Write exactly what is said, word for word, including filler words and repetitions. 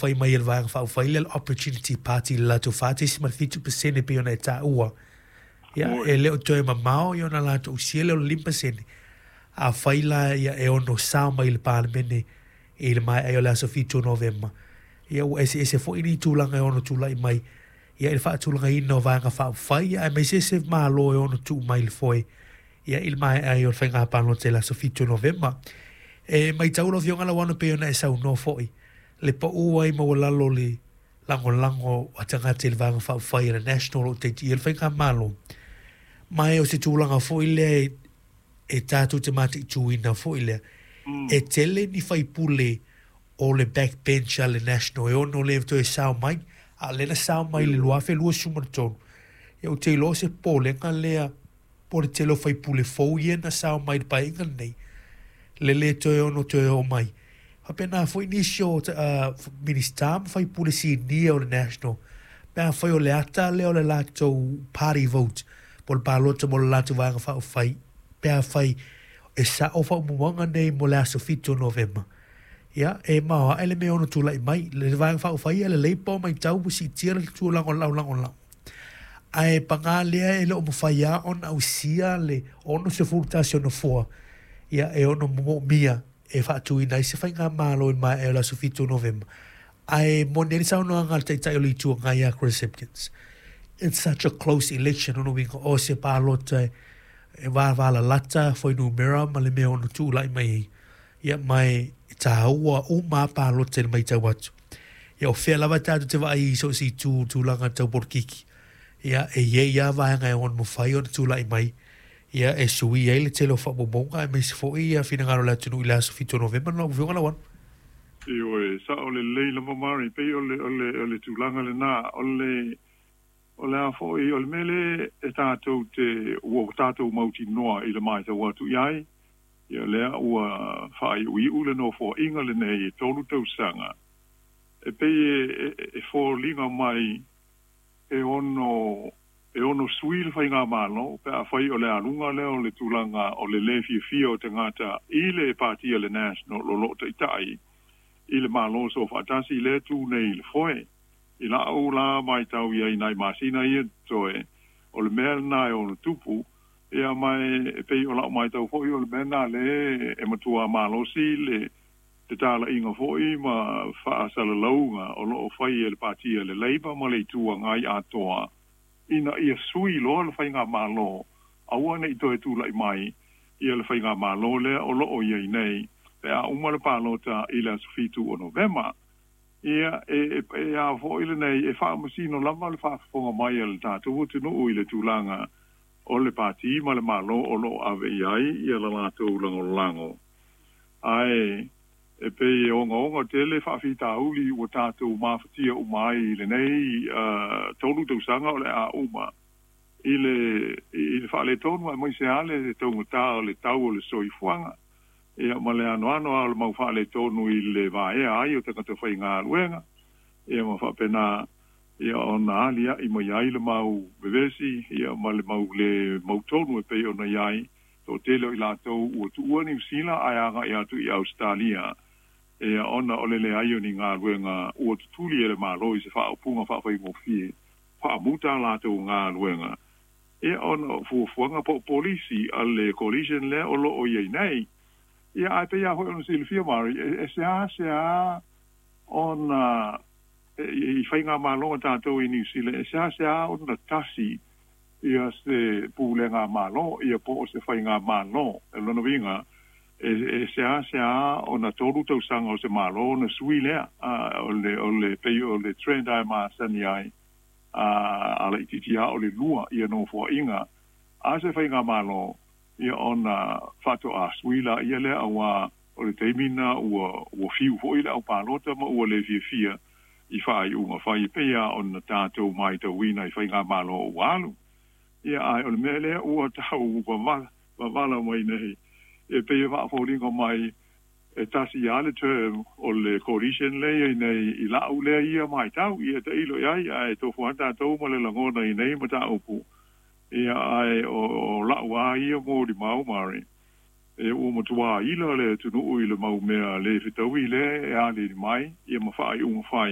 fai mai e le Vaega Faaupufai lea le Opportunity Party i le latou fa tesima le fitu pasene pei ona e taua. Ia, e le o toe mamao ia ona latou usia lea o le lima pasene. Afai la ia e ono sao mai i le Palemene i le maea ai o le aso fitu o Novema, ia ua eseese foi ni tulaga e ono tulai mai ia i le faatulagaina o Vaega Faaupufai, aemaise se Malo e ono tuu mai i le foe ia i le maea ai o le faiga palota i le aso fitu o Novema. E matau lau Afioga Lauano pei ona e saunoa foi le pau ai maualalo le lagolago a tagata i le Vaega Faaupufai a le National o lo o taitiia le faigamalo. Ma e o se tulaga foi lea e tatou te mataituina foi lea, e tele ni faipule o le backbench a le National e ono le toe sao mai, a o lea na sao mai i le two thousand twenty-three. Ia ou te iloa se popolega lea po o le tele o faipule fou ia na sao mai i le paeaiga lenei, le le toe ono toe oo mai. Faapena foi nisi o uh, minista ma faipule sinia o le National, pe afai o le ata lea o le latou party vote, po o le palota mo le latou Vaega Faaupufai, pe afai e sao faamaumauga nei mo le aso fitu o Novema. Ia, e maoae le mea ono tulai mai. Le Vaega Faaupufai a le Labour matau ua siitia le tulaga o le laulagolago. Ae paga lea e le o mafai lava ona ausia le sixty-one o nofoa, ia e ono moomia e faatuina ai se faigamalo i le maea o le aso fitu o Novema. Ae moni ai le saunoaga a le Taitai o le Itu Agai ia Chris Hipkins. It's such a close election, ona uiga o se palota e vavalalata fuainumera ma le mea ono tulai mai ai. Ia mai e tāua uma palota i le matau atu. Ia o fea lava tatou te vaai i so o se itu tulaga tau polokiki. Ia e iai lava vaega e ono mafai ona tulai mai. Ia e sui ai le tele o faamaumauga aemaise foi ia finagalo o le atunuu i le aso fitu o Novema lau Afioga Lauano. Ioe, sao lelei lava Mari, pei o le, o le, o le tulaga lena, o le, o le a foi, o le mea lea e tatou te, ua tatou mautinoa i le matau atu i ai, ia lea ua faaiuiu le nofoaiga lenei e tolu tausaga, e pei e, e, e foliga mai e ono, e ono sui le faigamalo, pe afai o le aluga lea o le tulaga o le le fiafia o tagata i le patia le National o lo o taitai i le Malo so faatasi le tu nei i le foe. I lau la matau ia i nai masina ia toe, o le mea lena e ono tupu, ia mai e pei o lau matau foi o le mea lena le e matua malosi le te talaiga foi ma faasalalauga o lo o fai e le patia le Labour ma le Itu Agai atoa, ina ia sui loa le faigamalo, aua nei toe tulai mai ia le faigamalo lea o lo o iai nei, pe a uma le palota i le aso fitu o Novema. Ia e, e, e a foi lenei e faamasino lava le faafofoga mai a le tatou atunuu i le tulaga o le pati ma le Malo o lo o ave i ai ia le latou lagolago. Ae e pei e ogaoga tele faafitauli ua tatou mafatia uma ai i lenei uh, tolu tausaga o le a uma i le, i le faaletonu aemaise lava le taugata o le tau o le soifuaga. Ia ma le anoano a o le mau faaletonu i le vaea ai o tagata faigaluega. Ia ma faapena ia ona alia'i mai ai le mau vevesi, ia ma le mau le mautonu e pei ona i ai toatele o i latou ua tuua Niu Sila ae aga'i atu i Ausetalia. Ia ona o le leai o ni galuega ua tutuli e le Malo i se faaupuga faafaigofie faamuta latou galuega. Ia ona o fuafuaga po o polisi a le coalition lea o lo o iai nei. Ia ae pei lava foi ona silafia Mari, e, e seasea ona e, i faigamalo a tatou i Niu Sila, e seasea ona tasi ia se pulega malo, ia po o se faigamalo. E lona uiga, e, e seasea ona tolu tausaga o se Malo ona sui lea, a, o le, o le pei o le trend ai masani ai, a, a laitiiti lava o le lua ia nofoaiga a se faigamalo, ia ona faatoa sui la ia lea auā o le taimi lena ua, ua fiu foi le aupalota ma ua le fiafia i faaiuga fai e pei lava ona tatou matauina i faigamalo ua alu. Ia ae o le mea lea ua tau vavala, vavala mai nei, e pei e faafoliga mai e tasi lava le term o le coalition lea iai nei i lau lea ia matau, ia tailo i ai, ae tofu lava tatou ma le lagona i nei mataupu. Ia ae o, o lau lava ia molimau Mari, e ua matua ila le atunuu i le mau mea le fetaui lea e aliali mai, ia ma faaiuga fai.